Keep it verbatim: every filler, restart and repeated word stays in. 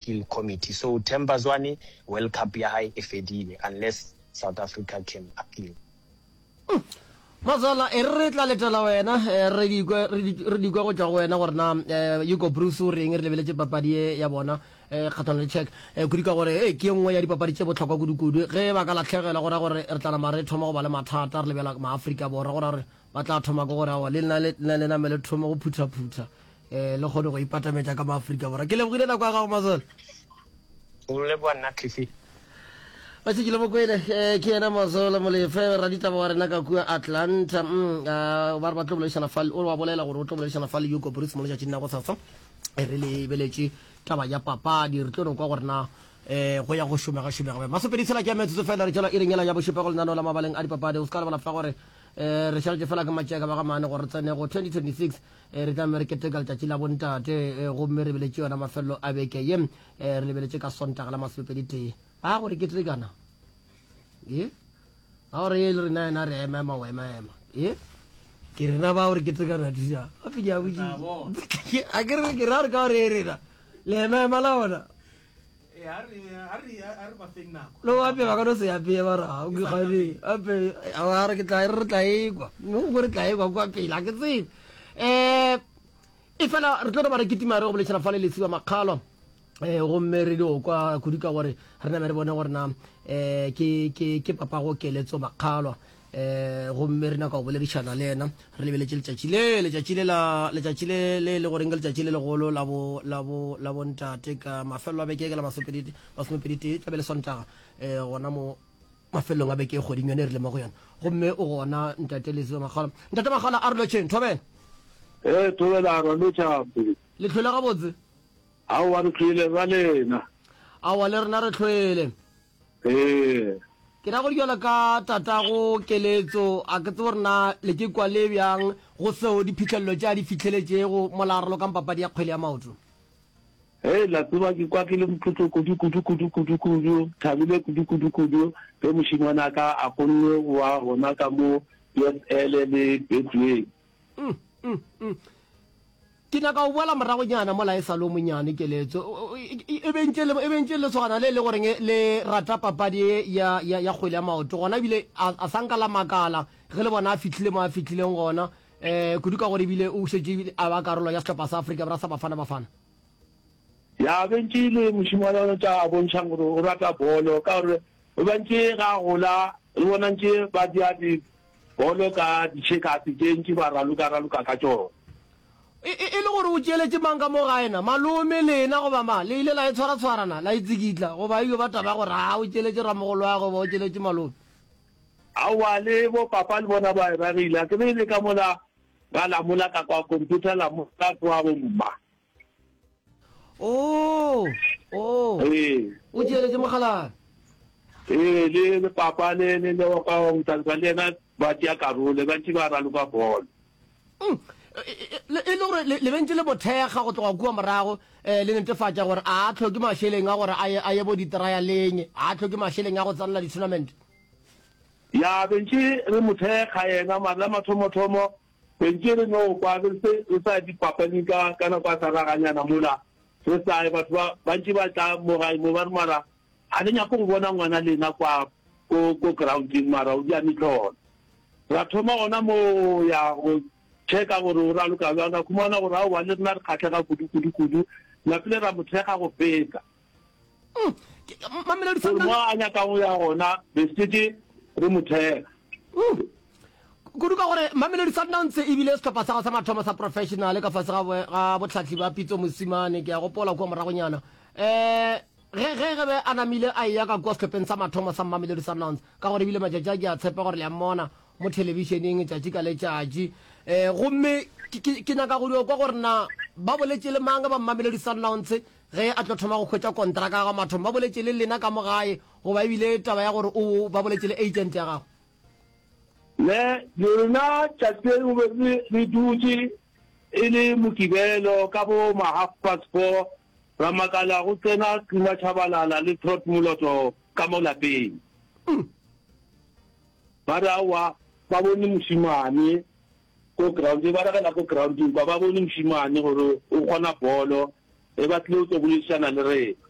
Appeal Committee. So Themba Zwane World Cup ya hae e fedile unless South Africa can appeal. Matswala, e re re tla letela wena, re di kwe, re di kwe go tšwa go wena gore na Hugo Broos o reng re lebeletše papadi ye ya bona kgahlano le Czech, kudu ka gore e ke ye nngwe ya dipapadi tše bohlokwa kudu-kudu. Ge ba ka lahlegelwa go ra gore re tla nama re thoma go ba le mathata re lebela Maafrika Borwa, go ra gore ba tla thoma ke gore aowa le nna le name le thome go phutha-phutha um le kgone go ipatametša ka Maafrika Borwa. Ke lebogile nako ya gago Mazola. Go leboga nna Cliffy. Ba šetše le mo kwele, ke yena Mazola Molefe, raditaba wa rena ka kua Atlanta. Mm, ba re ba tlo boledišana fa, o wa bolela gore o tlo boledišana fa le Hugo Broos mo letšatšing la gosasa. Re lebeletše taba ya papadi, re tlo no kwa gore na um go ya go šomega šomega bjang. Masopedi tshela ke ya metsotso fela re tšwela iring yela ya bošupa go lenaneo la mabaleng a dipapadi. O se ka lebala fa gore um re šaletše fela ke matšeka ba ga mane gore re tsene go twenty twenty-six. Re tla re keteka letšatši la bontate, gomme re beletše yona mafelelo a beke ye. Re lebeletše ka Sontaga la masomepedi tee. Ba gore ketekana e ba gore e le rena yena re ema ema o ema ema e ke rena ba gore ketekana thuša gape ke a botšiša a ke re ke ra re ka gore e rena le ema ema la bona le o ape ba ka no se apeye ba ra o ke gane ape a re ke tla re tla ekwa mo re tla ekwa kwa pele a ke tsebe um e fela re tlo re ba re kitima re go boledišana fa le Lesiba Makgalwa um gomme re dio kwa kudu ka gore re name re bone gore na um ke ke ke papago Keletso Makgalwa um gomme re nyaka go boledišana le yena re lebeletše letšatši le letšatši le la letšatši le le le goreng ke letšatši le legolo la bo la bo la bontate ka mafelelo a beke ke la masomepedi masomepedi tee tlabe le Sontaga um gona mo mafelelong a beke e kgweding yone e re le mo go yona gomme o gona ntate Lesiba Makgalwa. Ntate Makgalwa a re lotšheng thobela. Ee thobela ra lotšha. Le hlwele gabotse? Aowa re hlwele ra lena. Aowa le rena re hlwele. Ee. Ke ra gore bjalo ka tatago Keletso, a ke tsebe gore na le ke kwa le bjang go seo diphihlelelo tše a di fihleletšego mola a ralokang papadi ya kgwele ya maoto. Hei, la tseba ke kwa ke le motlotlo kudu, kudu, kudu, kudu, kudu, thabile kudu, kudu, kudu ge mošemane a ka a kgonne go ba gona ka mo P S L le Betway. Mm, mm, mm. Ke nyaka go boela moragonyana mola e sa le o monyane, Keletso. E be ntše e be ntše lesogana le le goreng le rata papadi ye ya, ya, ya kgwele ya maoto. Gona ebile a, a sa nka la makala ge le bona a fihlile mo a fihlileng gona, um kudu ka gore ebile o šetše ebile a ba karolo ya sehlopha sa Afrika Borwa sa Bafana Bafana. Ya be ntše e le mošemane o tša bontšhang gore o rata bolo, ka gore o be ntše ga a gola re bona ntše ba tšea di bolo ka ditšhekase tše ntši ba raloka-raloka ka tšona. E, e, e le gore o tšeeletše mang ka mo gae na? Malome, lena goba ma? Le ile la e tshwara-tshwara na? La e tsikitla? Goba e yo ba taba ya gore aa o tšeeletše ramogolo'agwe goba o tšeeletše malome? Aowa, le bo papa le bona ba e ragile. A ke be e le ka mola ga lamola ka kwa computer lamola kwa bo mma. Oh, oh. Ee. O tšeeletše mokgalabje. Ee, le, le papa le, le, le wa kwa Motsantswa le yena ba tšea karolo, ba ntše ba raloka bolo. Mm. E le gore le be ntše le mo thekga go tloga kua morago, eh, le netefatša gore a a hloke mašeleng a gore a ye, a ye bo di-trialeng, a a hloke mašeleng a go tsenela di-tournament. Ya, be ntše re mo thekga yena, mara la mathomothomo be ntše re no kwa re se re sa ye dipapading ka, ka nako ya sa raganyana mola re sa ye, batho ba bantši ba tla mo gae mo ba re mara ga le nyake go bona ngwana lena kwa ko, ko grounding mara o dia mehlolo. Ra thoma gona mo ya go checka gore o raloka bjang, ra khumana gore aowa le rena re kgahlega kudu kudu kudu, napile ra mo thekga go feta. Mm. Mamelodi Gore mo a nyakang go ya gona be šetše re mo thekga. Mm. Kudu ka gore Mamelodi Sundowns e bile sehlopha sa gago sa mathomo sa professional ka fase ga ga bohlahli ba Pitso Mosimane, ke a gopola kua moragonyana. Eh ge ge ge be a namile a eya ka kua sehlopheng sa mathomo sa Mamelodi Sundowns, ka gore ebile matšatši a ke a tshepa gore le a mmona mo thelebišeneng tšatši ka letšatši. Eh gomme ke ke ke nyaka go dio kwa gore na ba boletše le mang ba Mamelodi Sundowns ge a tlo thoma go hwetša kontraka ya gagwe mathomo, ba boletše le lena ka mo gae goba ebile taba ya gore o ba boletše le agent ya gago? Ne rena tšatši le lengwe be re dutše e le Mokibelo ka bo ma half past four, ra makala go tsena Tluma Tshabalala le Trot Moloto ka mo lapeng. Ba re aowa ba bone mošemane ko ground, ba ragela ko grounding kwa ba bone mošemane gore o kgona bolo, e ba tlile go tlo boledišana le rena.